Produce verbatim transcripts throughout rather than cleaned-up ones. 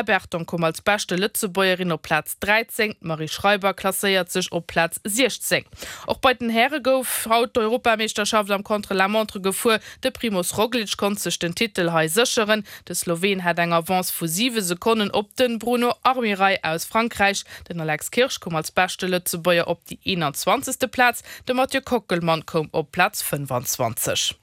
Berton koum als beschte Lëtzebuergerin op Plaz dräizéng, d'Marie Schreiber klasséiert sech op Plaz siechzéng. Och bei den Häre gouf haut d'Europameeschterschaft am Contre-la-montre gefuer. De Primoz Roglic konnt sech den Titel hei sécheren. De Sloween hat eng Avance vu siwe Sekonnen op de Bruno Armirail aus Frankräich. Den Alex Kirsch koum als beschte Lëtzebuerger op déi eenanzwanzegste Plaz, de Mathieu Kockelmann koum op Plaz fënnefanzwanzeg.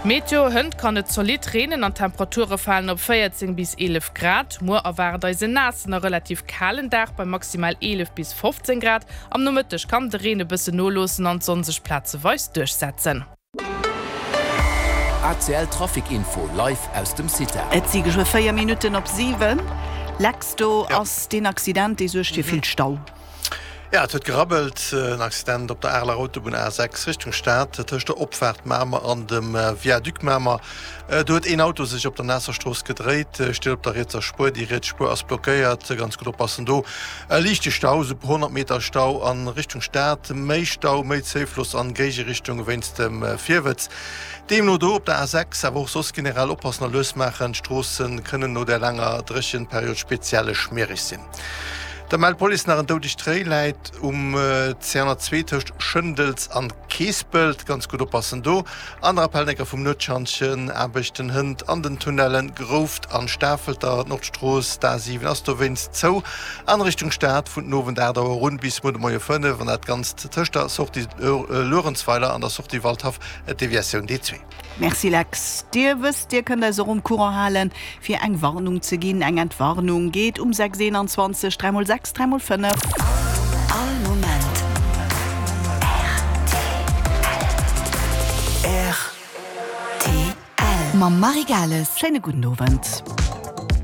Meteo, Hënt kann et zolidd reenen an d'Temperature falen op véierzéng bis eelef Grad. Muer erwaart eis en naassen a relativ kalen Dag bei maximal eelef bis fofzéng Grad. Am Nomëtteg kann de Reen e bëssen noloossen an d'Sonn sech plazeweis duerchsetzen. A C L Trafic Info live aus dem CITA. Et si geschwë véier Minutten op siwen. Lex, do ass deen Accident, dee suergt fir vill Stau. Ja, et huet gerabbelt, en Accident op der Areler Autobunn A sechs Richtung Stad, tëscht der Opfaart Mamer an dem Viaduc Mamer. Do huet een Auto sech op der naasser Strooss gedréit, steet op der rietser Spuer, déi riets Spuer ass blockéiert. Ganz gutt oppassen do. E liichte Stau, esou e puer honnert Meter Stau a Richtung Stad, méi Stau, méi Zéifloss an Géigerichtung wéinst dem Virwëtz. Deemno do op der A sechs, awer och soss generell oppassen a lues maachen, d'Stroosse kënnen no der laanger Dréchenperiod speziell schmiereg sinn. Da mellt d'Police nach en doudegt Réi läit um C honnertzwee tëscht Schëndels an Keespelt. Ganz gutt oppassen do. Aner Appellnecker vum Nuetschantjen, Aarbechten hënt an den Tunnellen Grouft an Stafelter. D'Nordstrooss, d'A siwen, ass dowéinst zou an Richtung Stad vun den Owend aacht Auer un bis muer de Moie fënnef an dat Ganzt tëscht der Sortie Luerenzweiler an der Sortie Waldhaff, Deviatioun D zwee. Merci Lex. Dir wësst, Dir kënnt eis och um Courant halen, fir eng Warnung ze ginn. Eng Entwarnung geet um sechs eenanzwanzeg dräi mol sechs dräi mol fënnef. All Moment rtl. Mam Marie Gales. Schéine gudden Owend.